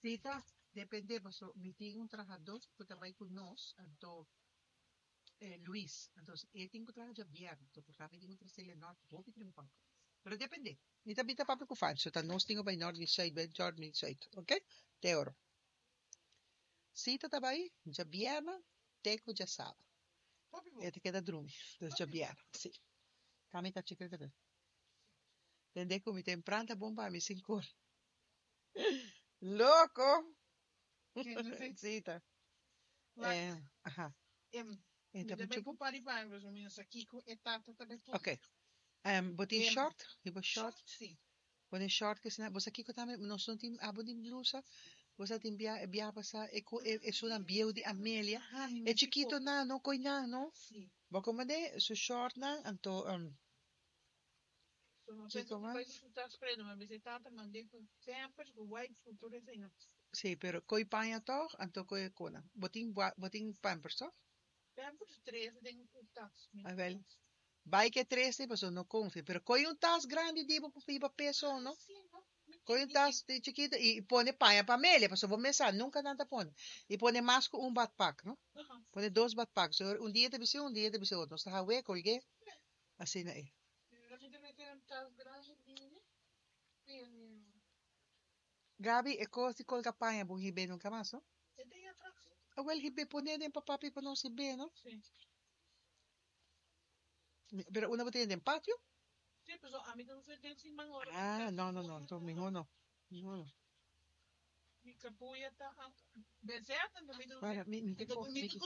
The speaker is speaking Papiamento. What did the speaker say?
Si ta depende paso mi tin un trahadó ku ta bai ku nos anto Luis anto e tin ku traha djabièrnè anto por mi tin ku trasel e nòrt hopi trempan pero depende mi ta bita papia ku Fancho ta nos tin ku bai nòrt di sùit bai nòrt di sùit oke te oro si ta ta bai djabièrnè te ku djasabra e ta keda drumi dus djabièrnè si ta mi ta chikito tende ku mi tempran ta bon pa mi sin kor. Loco! Sita. Eh, aha. E ta mucho bon. Ok. Bo tin short? Riba short? Bo tin short ke asina. Bo sa kiko tambe? Nos no tin, abo tin blusa? Bo sa tin bia, bia pasa e ku e esunnan bieu di Amelia. E chikitonan no, koinan no. Bo komende su shortnan anto. Kiko mas? Sí, pero koe paña tog, anto koe kona. Bo tin bo tin pampers tog? Awel, bai ke trese pasobra no konfia, pero koe un tas grandi di bo pa hiba peso no. Koe un tas di chikito i pone paña pa Amelia, pasobra bo mes sa nunka nan ta pone. I pone mas ku un badpak no. Pone dos badpak, so un dia ta bisti un, un dia ta bisti otro. Nos ta hawe, kolg'é, asina ei. Gaby, e kos di kolga paña bo hib'é nunka mas, no? Awel hib'é pon'é den pa papi pa nos hib'é, no? Pero unda bo tene den patio? Ah, no, no, no, anto mihó no, mihó no. Para, mi, mi te ko, mi te.